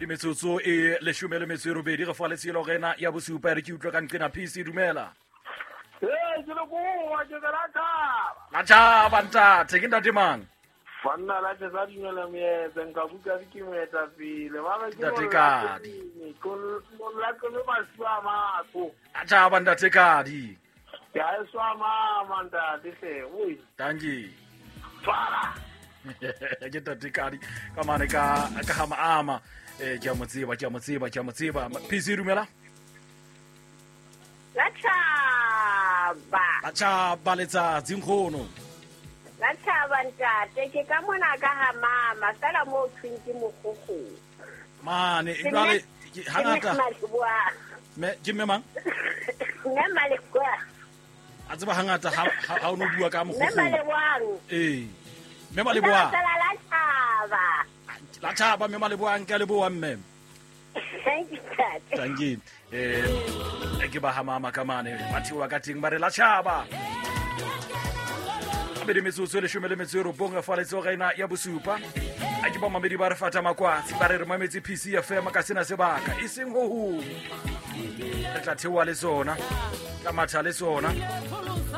Mabedi metsotso e leshome le metso e robedi re fa letshelo rena ya bosupa e re ke utlwe ka nqena PC dumela. Ee, ke le koa ke la tšhaba. La tšhaba ntate, ke ntate mang? Banna la tšhesa dumela moetse nka buka ke moetapele ba re ke Ntate Kadi. Molatlele masiwa a matho. La tšhaba ntate Kadi. Ke a e swa mama ntate hle. Oi. Dankie. Tshwara. Ke ntate Kadi ka mane ka ka ga maama. Eh ke a mo tseba, ke a mo tseba, ke a mo tseba. PC dumela. La tšhaba. La tšhaba letsatsi nkgono. La tšhaba ntate, ke ka mona ka ga mama, fela mo thweng ke mogogo. Mane, jwale hangata. Me ke mme mang? Mme Maleboa. A tseba hangata ha o no bua ka mogogo. Mme Maleboang. Ee. Mme Maleboa. La tšhaba. La tšhaba mme Maleboang ke a leboa mme. Thank you, Tate. Thank you. Eh, ke ba ha mama ka mane ba theoha ka teng ba re la tšhaba mabedi metsotso e leshome le metso e robong fa letsoga ena ya bosupa a ke bamamedi ba re fata makwatsi ba re re mametse pc fm ka sena sebaka e seng ho hong re tla theoha le sona tla matha le sona.